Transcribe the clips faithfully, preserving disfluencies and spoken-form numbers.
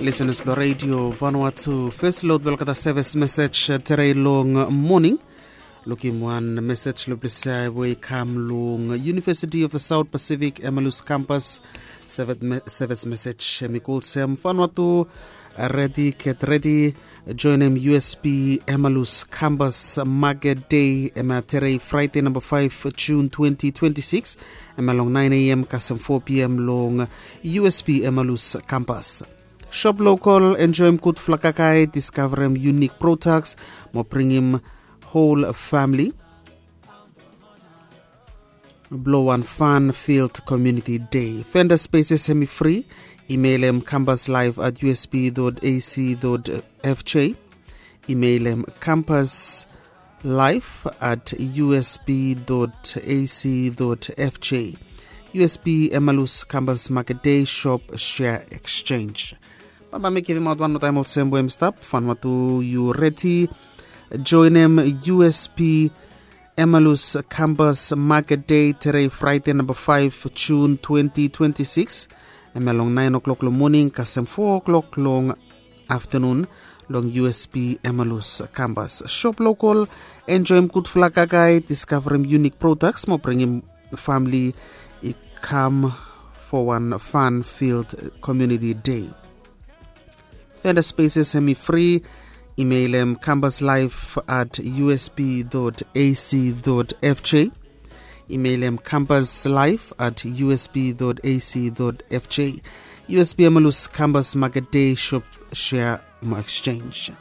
Listeners blong Radio Vanuatu, first load blong olgeta service message, eh, tere long morning. Lukim wan message lo blong we i kam long University of the South Pacific Emalus Campus. Service me-, service message, eh, mi kolsem Vanuatu, eh, ready, get ready. Joinim U S P Emalus Campus Market Day, hemia tere Friday number five June twenty twenty-six. Hemia long nine A M kasem four P M long U S P Emalus Campus. Shop local, enjoim gudfala kakae, discoverim unique products, mo bringim whole family. Blong wan fun-filled community day. Vendor spaces hemi free. Emailim campus life at U S P dot A C dot F J. Emailim campus life at U S P dot A C dot F J. U S P Emalus Campus Market Day Shop Share Exchange. Bambae mi givimaot wan moa taem olsem we hemi stap. Vanuatu, yu redi? Joinim U S P Emalus Campus Market Day tere Friday number five June twenty twenty-six. Hemia long nine o'clock long morning kasem four o'clock long afternoon long U S P Emalus Campus. Shop local, enjoim gudfala kakae, discoverim unique products, mo bringim family i kam for wan fun-filled community day. Vendor spaces hemi free. Emailim campus life at U S P dot A C dot F J. Emailim campus life at U S P dot A C dot F J. U S P Emalus Campus Market Day Shop Share mo Exchange.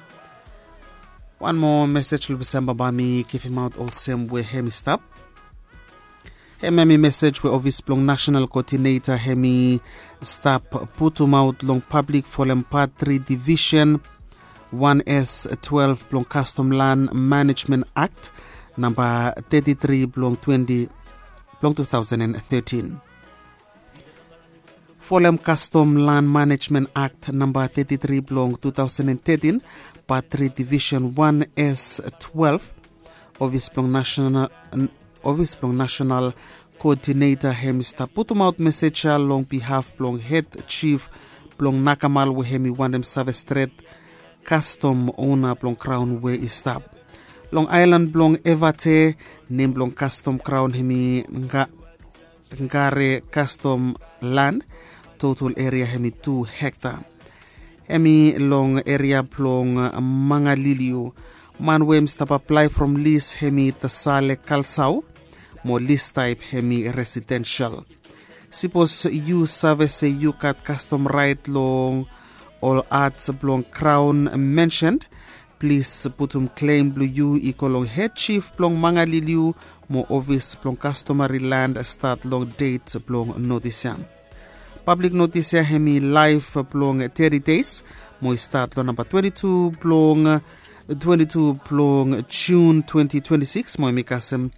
Wan moa message lo blong olsem bambae mi givimaot olsem we hemi stap. Hemia hemi message we office blong National Coordinator hemi stap putumaot long public folem Part three Division one S twelve blong Custom Land Management Act number thirty-three blong twenty, blong two thousand and thirteen. Folem Custom Land Management Act number thirty-three blong two thousand and thirteen, Part three Division one S twelve, office blong National, office blong National Coordinator hemi stap putumaot message ya long behalf blong head chief blong Nakamal we hemi wantem save stret custom owner blong crown we i stap long aelan blong Evate. Nem blong custom crown hemi Nga-, Ngare Custom Land. Total area hemi two hectare. Hemi long area blong Mangaliliu. Man we hemi stap aplae from lease hemi Tasale Kalsau, mo lease type hemi residential. Sipos yu save se yu gat custom right long ol art blong crown mentioned, plis putum claim blong yu i go long head chief blong Mangaliliu mo office blong customary land stat long date blong notice ya. Public notice ya hemi live blong thirty days, mo i stat long number twenty-two blong, twenty-two blong June twenty twenty-six, mo hemi kasem,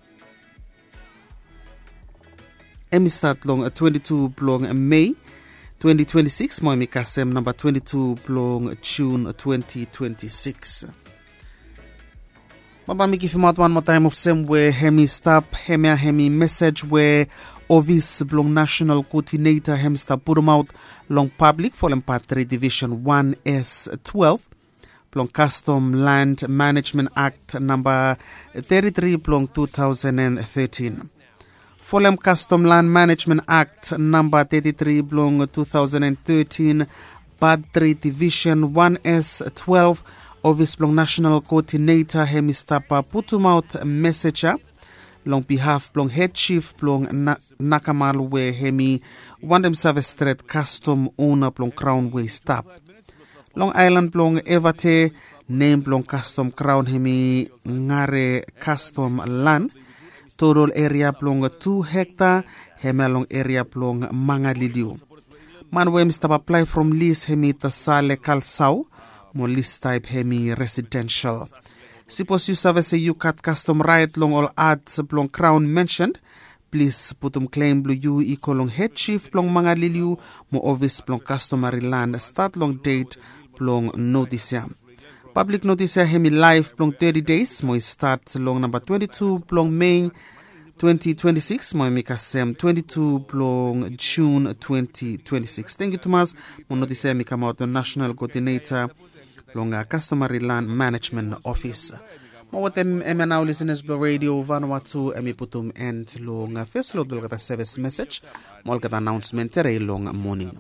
hemi stat long twenty-two blong May twenty twenty-six, mo hemi kasem number twenty-two blong June twenty twenty-six. Bambae mi givimaot wan moa taem olsem we hemi stap. Hemia hemi message we office blong National Coordinator hemi stap putumaot long public folem Part three Division one S twelve blong Custom Land Management Act number thirty-three blong two thousand and thirteen. Folem Custom Land Management Act number thirty-three blong two thousand and thirteen, Part three Division one S twelve, office blong National Coordinator hemi stap putumaot message ya long behalf blong head chief blong Na-, Nakamal we hemi wantem save stret custom owner blong crown we i stap long aelan blong Evate. Nem blong custom crown hemi Ngare Custom Land. Total area blong two hectare, hemia long area blong Mangaliliu. Man we hemi stap aplae from lease hemi Tasale Kalsau, mo lease type hemi residential. Sipos yu save se yu gat custom right long ol art blong crown mentioned, plis putum claim blong yu i go long head chief blong Mangaliliu mo office blong customary land stat long date blong notice ya. Public notice ya hemi live blong thirty days, mo i stat long number twenty-two blong May twenty twenty-six mo em i kasem twenty-two blong Jun twenty twenty-six. Thank you tumas. Mo notis em i kamaot long national coordinator long customary land management office. Mo wetem em ya nao lisenas blong radio Vanuatu, em i putum end long fes long olgeta service message mo olgeta announcement terei long morning.